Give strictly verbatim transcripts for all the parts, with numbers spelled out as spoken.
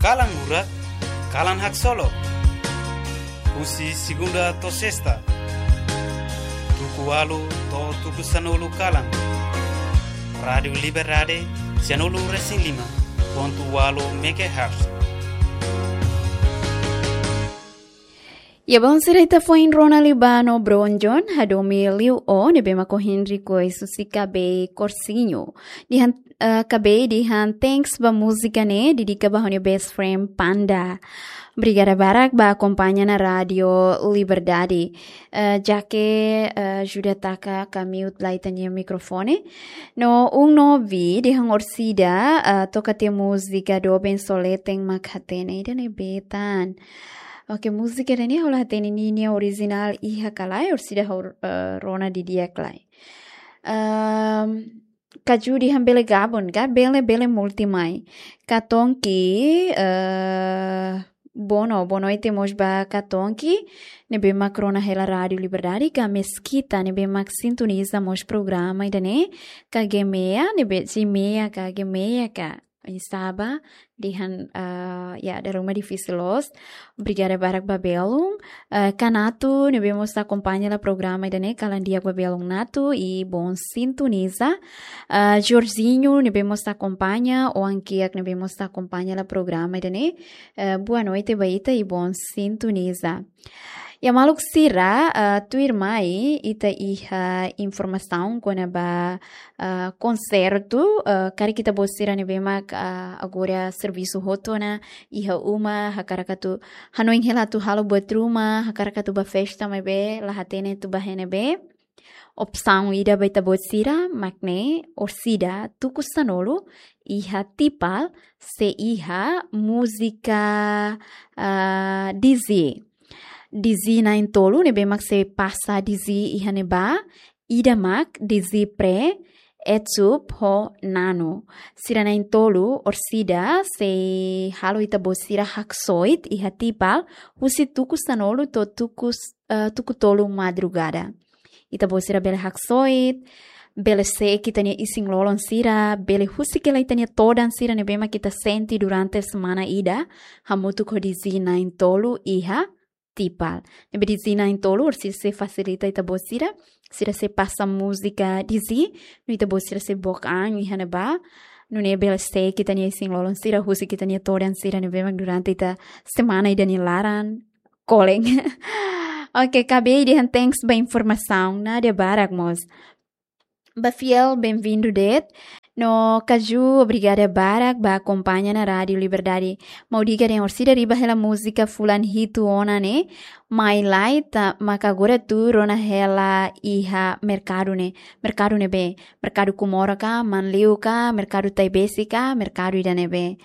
Kalan Lurak, Kalan Haksolok. Husi segunda to'o sesta, tuku ualu to'o tuku sanulu kalan. Rádiu Liberdade, sianulu resin lima pontu ualu megahertz. Ya, bom, sira, ita foin rona liu ba no Bronjon, hadomi liu ó ne'ebé mak Henrique Koisu si Kabei Korsinho. Dehan, eh, Kabei dehan thanks ba múzika ne'e, dedika ba ha'u-nia best friend Panda. Obrigada barak ba akompaña ona Rádiu Liberdade. Eh, Jake, eh, ajuda taka ka mute lai ita-nia mikrofone. No Uno Vi dehan orsida, eh, toka tiha múzika Doben Soleten mak hatene ida-ne'ebé tan. Oke, múzika ida-ne'e ha'u la hatene ninia orijinál iha ka lae, orsida ha'u, eh, rona didi'ak lai. Ehm, Kaju dehan bele gabun ka, bele, bele multi mai. Katonki, eh, bono, boa noite mós ba Katonki, ne'ebé mak rona hela Rádiu Liberdade, ka Meskita, ne'ebé mak sintoniza mós programa ida-ne'e, ka Gemea, ne'ebé Gemea ka Gemea ka. Oinsá ba, dehan, ah, ya, dala ruma difisil loos. Obrigada barak ba belun. Ah, Kanatu, ne'ebé mós akompaña hela programa ida-ne'e, kalan di'ak ba belun Natu, i bom sintoniza. Ah, Jorginho, ne'ebé mós akompaña, Oan Kiak, ne'ebé mós akompaña hela programa ida-ne'e. Ah, boa noite ba ita i bom sintoniza. Ya, maluk sira, ah, tuirmai ita iha informasaun kona-ba, ah, konsertu, ah, karik ita-boot sira ne'ebé mak, ah, agora servisu hotu ona iha uma, hakarak atu hanoin hela atu halo buat ruma, hakarak atu bá festa maibé la hatene atu bá iha ne'ebé. Opsaun ida ba ita-boot sira mak ne'e, orsida tuku sanulu iha Tipal sei iha múzika, ah, D J. D J na'in-tolu ne'ebé mak sei pasa D J iha ne'ebá, ida mak D J Pre, Etsup ho Nano. Sira na'in-tolu orsida sei halo ita-boot sira haksoit iha Tipal, husi tuku sanulu to'o tuku s-, eh, tuku tolu madrugada. Ita-boot sira bele haksoit, bele seek ita-nia isin-lolon sira, bele husik hela ita-nia todan sira ne'ebé mak ita sente durante semana ida, hamutuk ho D J na'in-tolu iha Tipal. Ne'ebé D J na'in-tolu orsida sei fasilita ita-boot sira, sira sei pasa múzika D J, no ita-boot sira sei book an iha ne'ebá, nune'e bele seek ita-nia isin-lolon sira, husik ita-nia todan sira ne'ebé mak durante ita semana ida nia laran, kolen. Oke, Kabei dehan thanks ba informasaun, nada barak mós. Ba Fiel, bem-vindo de'it. No Kaju, obrigada barak ba akompaña ona Rádiu Liberdade. Maun Diga dehan orsida riba hela múzika fulan hitu ona ne'e, mai lai ta, maka agora atu rona hela iha merkadu ne'e. Merkadu ne'ebé, merkadu Comoro ka, Manleu ka, merkadu Taibesi ka, merkadu ida-ne'ebé.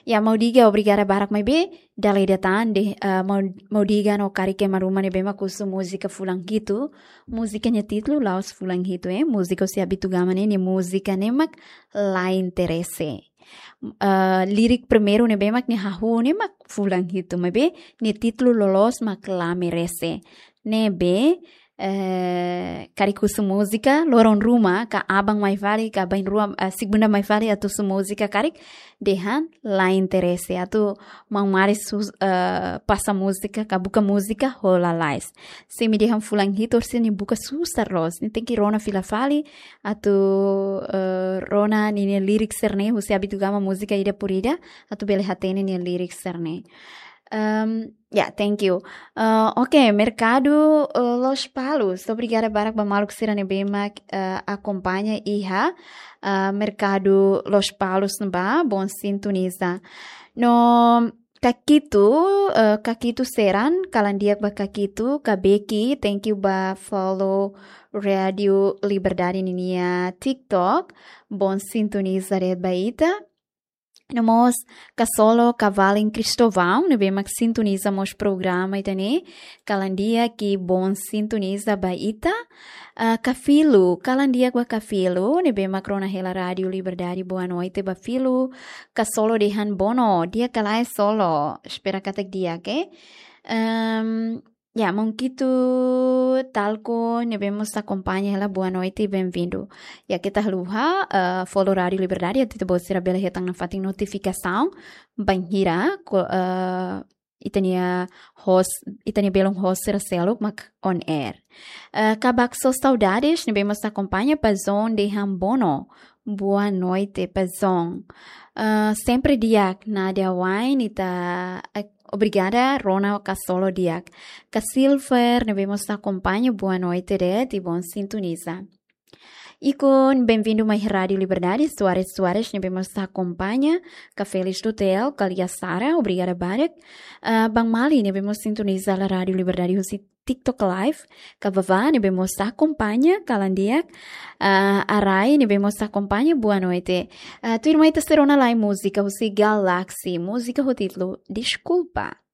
Ya, Maun Diga, obrigada barak maibé, dala ida tan de'it, eh, Maun, Maun Diga no karik ema ruma ne'ebé mak husu múzika fulan hitu, múzika nia títulu la'ós fulan hitu, eh. Múzika husi Abitugama ne'e, nia múzika ne'e mak La Interese. Eh, lirik primeiru ne'ebé mak nia hahú ne'e mak fulan hitu, maibé nia títulu loloos mak La Merese. Ne'ebé, eh, karik husu múzika, loron ruma, ka aban mai fali, ka bainrua, eh, segunda mai fali, atu husu múzika karik, dehan La Interese, atu maun Maris sus-, eh, pasa múzika, ka buka múzika, ho lalais. Se imi dehan fulan hitu, orsida nia buka susar loos, nia tenke rona fila fali, atu, eh, rona ninia lirik sira-ne'e, husi Abitugama múzika ida por ida, atu bele hatene nia lirik sira-ne'e. Ehm, ya, thank you. Eh, oke, merkadu, eh, Lospalos. Obrigada barak ba maluk sira ne'ebé mak, eh, akompaña iha, eh, merkadu Lospalos ne'ebá, bom sintoniza. No Kakitu, eh, Kakitu Seran, kalan di'ak ba Kakitu, Kabeki, thank you ba follow Rádiu Liberdade ninia TikTok, bom sintoniza de'it ba ita. No mós Kasolo Kavalin Cristovão, ne'ebé mak sintoniza mós programa ida-ne'e, kalan di'ak i bom sintoniza ba ita. Ah, Kafilu, kalan di'ak ba Kafilu, ne'ebé mak rona hela Rádiu Liberdade, boa noite ba Filu. Kasolo dehan bono, di'ak ka lae Solo, espera katak di'ak, eh. Ehm, Ya, Monkitu Talco ne'ebé mós akompaña hela, boa noite, bem-vindo. Ya, keta haluha, eh, follow Rádio Liberdade, atu ita-boot sira bele hetan nafatin notifikasaun bainhira ko-, eh, ita-nia host, ita-nia belun host sira seluk mak on air. Eh, Kabak So Saudades ne'ebé mós akompaña, Pazon de Hambono. Boa noite, Pazon. Eh, sempre di'ak, Nadia Wine, ita, eh, obrigada, rona ka solo di'ak. Ka Silver ne'ebé mós akompaña, boa noite de'it, i bom sintoniza. I kon bem-vindo mai Rádio Liberdade, Soares Soares ne'ebé mós akompaña, ka Félix Dutel, ka Lia Sara, obrigada barak. Ah, Bang Mali ne'ebé mós sintoniza hela Rádio Liberdade husi TikTok Live, ka Vavá ne'ebé mós akompaña, kalan di'ak. Ah, Arai ne'ebé mós akompaña, boa noite. Ah, tuirmai ita sei rona lai múzika husi Galaxy, múzika ho títulu Deskulpa.